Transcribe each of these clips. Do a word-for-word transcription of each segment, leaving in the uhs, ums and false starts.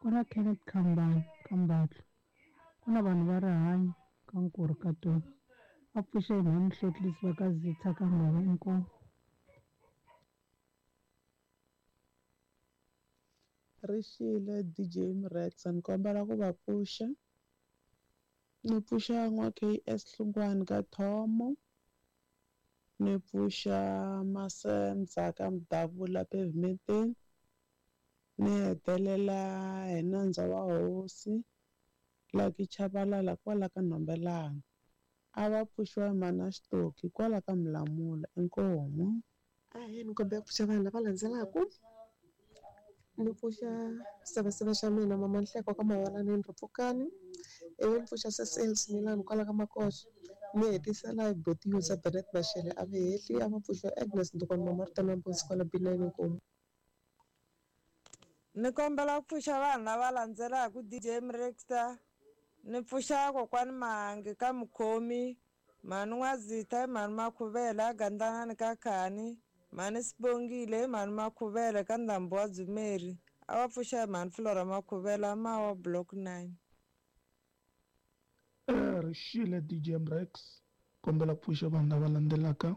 Ku na Kenneth Khambane ka Mbatlo. Ku na vanhu va rihanyo ka Nkurhu ka Toni. Va pfuxe hi mhani Hlotlisi va ka Zitha ka Ngove inkomu. Rixile D J Mrexa ni kombela ku va pfuxa. Ni pfuxa n'wa K S Hlungwani ka Thomo. Ni pfuxa Masendza ka Mdavula Pavementeni. Ni hetelela hi nandza wa hosi Lucky Chabalala kwala ka Nhombelani. A va pfuxiwa hi mana Xitoki kwala ka Mlamula inkomu. Ahee, ni kombela ku pfuxa vanhu lava landzelaka. Ni pfuxa seveseve xa mina mama Nhleko ka Mawalaneni Ripfukani. Ivi ni pfuxa Cecil Smilani kwala ka Makoxa. Ni hetisela hi Boti Yusa Bennett Mashele a veheli a va pfuxa Agnes Ndukwana mama Rita Mbuzi kwala B nine inkomu. Ni kombela ku pfuxa vanhu lava landzelaka D J Mrexta. Ni pfuxa kokwani Mahangi ka Mukhomi, mhani N'wazitha, mhani Makhuvela, Gandlanani ka Khani, mhani Sibongile, mhani Makhuvela ka Ndhambu wa Dzumeri. A va pfuxa hi mhani Flora Makhuvela Mawa Block nine. Rixile D J Mrex, kombela ku pfuxa vanhu lava landzelaka.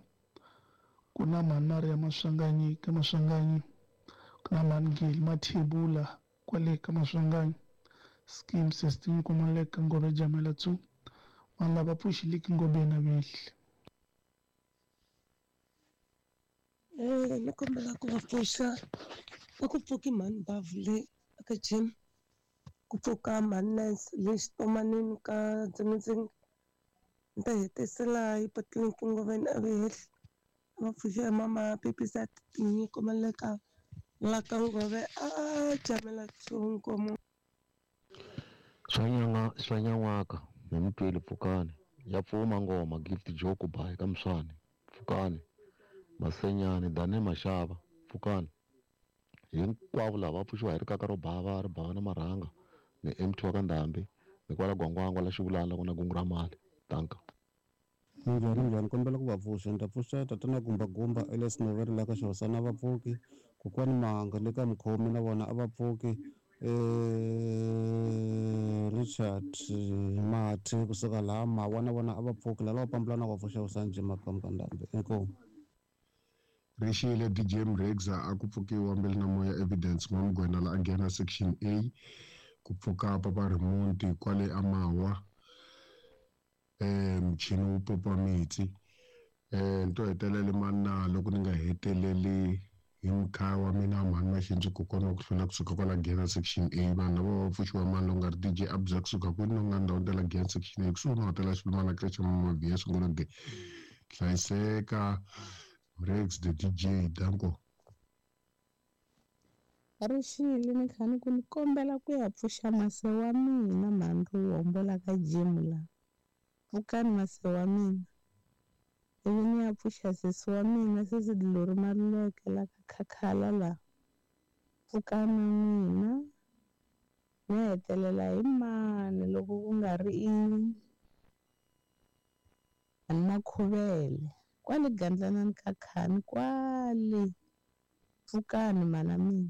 Ku na mhani Maria Maswanganyi ka Maswanganyi, ku na mhani Gil Mathebula kwale ka Maswanganyi. Scheme system kumaleka Ngobe Jamela two. Vanhu lava pfuxiliki Ngobe na vehli. Eh, ni kombela ku va pfuxa. A ku pfuki mhani Bavu le aka gym. Ku pfuka mhani Nancy le xitomanini ka Dzingidzingi. Ni ta hetisela hi Patlinki Ngoveni a veheli. A va pfuxa hi mama Pipisa Tinyiko Maleka la ka Ngove a Jamela two inkomu. Swa nyanga swa nyan'waka hi mutweli pfukani ya pfuma ngoma Gift Joku bayi ka Mswane pfukani Masenyani Dane Mashava pfukani hinkwavo lava va pfuxiwa hi rikaka ro bava ri bava na marhanga ni M T wa ka Ndhambi ni kwala Gwangwangwa la Xivulana la ku na gungu ra mali tanka. Minjhani minjhani kombela ku va pfuxa. Ni ta pfuxa tatana Gumba Gumba Elias Noveri la ka Xihosana va pfuki, kokwani Mahanga le ka Mukhomi na vona a va pfuki, eh Richard Mathe kusuka laha Mawa na vona a va pfuki, lava pambulana va pfuxa Usanje Makamu ka Ndhambi inkomu. Rixile D J Mrexa a ku pfukiwa mbili na moya Evidence N'wamugwena la a nghena section A ku pfuka Papa Rimonti kwale Amawa eh mchini wu popa mitsi eh nto hetelele manna loko ni nga heteleli hi mkhaya wa mina mhani Maxinzi kokwana ku hlula kusuka kwala nghena section A vanhu lava va pfuxiwa mani loko nga ri D J Abza kusuka kwini no nga ndhawu ta nghena section A kusuhi na hotela Xilumana Creche Mama V S ngolo ge hlayiseka Mrex the D J danko. Rixile ni kha ni ku ni kombela ku ya pfuxa mase wa mina mhani Ruhombo la ka gym la. Pfukani mase wa mina. Ivi ni ya pfuxa sesi wa mina sesi Dilori Maluleke la ka Khakhala la. Pfukani n'wina. Ni hetelela hi mani loko ku nga ri i mhani Makhuvele kwale Gandlanani ka Khani kwale. Pfukani mana mina.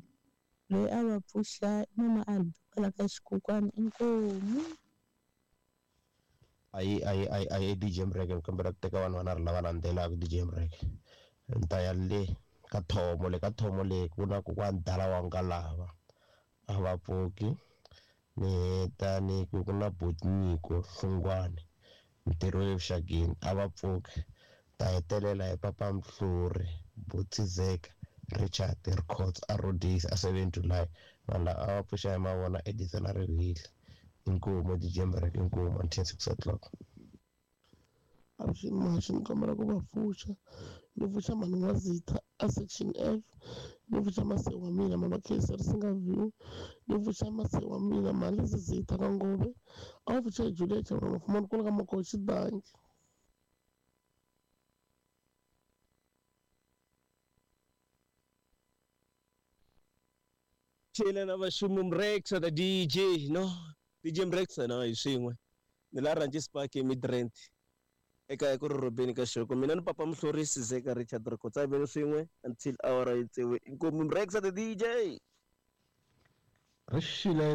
Loyi a va pfuxa mama Albi kwala ka Xikokwani inkomu. Ayi ayi ayi ayi D J Mreke ni kombela ku teka vanhu vanharhu lava landzelaka D J Mreke. Ni ta ya le ka Thomo le ka Thomo le ku na kokwani Dala wa Ngalava a va pfuki. Ni heta ni ku ku na Botnyiko Hlungwani ntirho le vuxakeni a va pfuki. Ta hetelela hi Papa Mhluri Botizeka Richard Records a Rhodes a seven July vanhu lava a va pfuxa hi mavona Edison a Rivili inkomu D J Mreke inkomu until six o'clock. Avuxeni Mahaxi, ni kombela ku va pfuxa. Ni pfuxa mhani N'wazitha a section F, ni pfuxa mase wa mina mama Khensa Risinga View, ni pfuxa mase wa mina mhani Zizitha ka Ngove, a va pfuxa hi Juliet Chavura Mafumani kwala ka Makoxi Danki. Chela na vaxumu Mrexa the D J no D J Mrexa na hi swin'we ni la Ranches Park eMidrand eka ku ri Robeni ka Xoko mina ni Papa Mhlorisi Zeka Richard Rikotsa veni swin'we until hour yi tsewe inkomu Mrexa the D J. Rixile